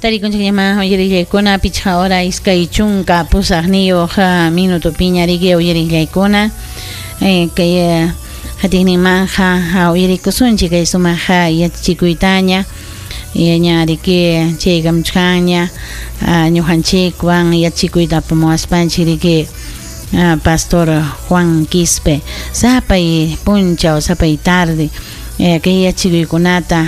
Tarikunchikñamá uyarillaykuna 5 hora 28 minutopiña riki uyarillaykuna kay qatiqninmanja uyarikusunchik kay sumaq yachachikuytaña ña riki chaykamuchkanña ñuqanchikwan yachachikuyta apamuwaspanchik riki Pastor Juan Quispe sapay punchaw sapay tarde kay yachachikuykunata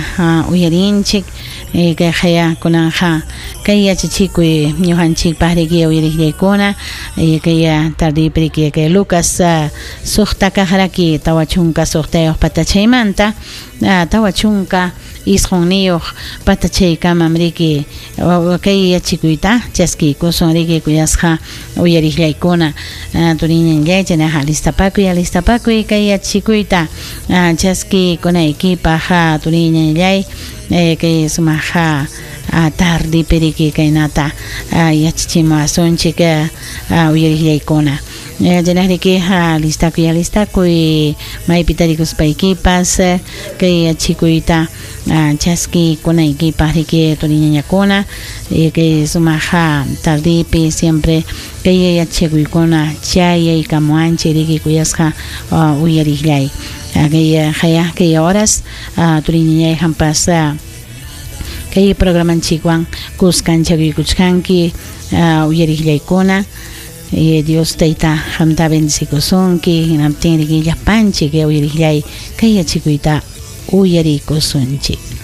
uyarinchik kay qaya kunanja kay yachachikuy ñuqanchikpaq riki uyariqllaykuna kay tardepi riki kay Lucas 6 kaqraki 46 patachaymanta 49 patachaykamam riki kay yachachikuyta chaskiykusun riki kuyasqa uyariqllaykuna turiñanllay chaynaqa alistapakuy kay yachachikuyta chaskiykunaykipaq turiñanllay kay sumaq tardepi riki kaynata yachachimuwasunchik uyariqllaykuna chaynaq riki alistakuy maypi tarikuspaykipas kay yachachikuyta chaskiykunaykipaq riki turiñañakuna kay sumaq tardepi siempre kay yachachikuykuna chayaykamuwanchik riki kuyasqa uyariqllay kay qaya kay horas turiñañay hampas kay programanchikwan kuskanchakuykuchkanki uyariqllaykuna Dios tayta qamta bendecikusunki hinaptin riki llapanchik uyariqllay kay yachachikuyta uyarikusunchik.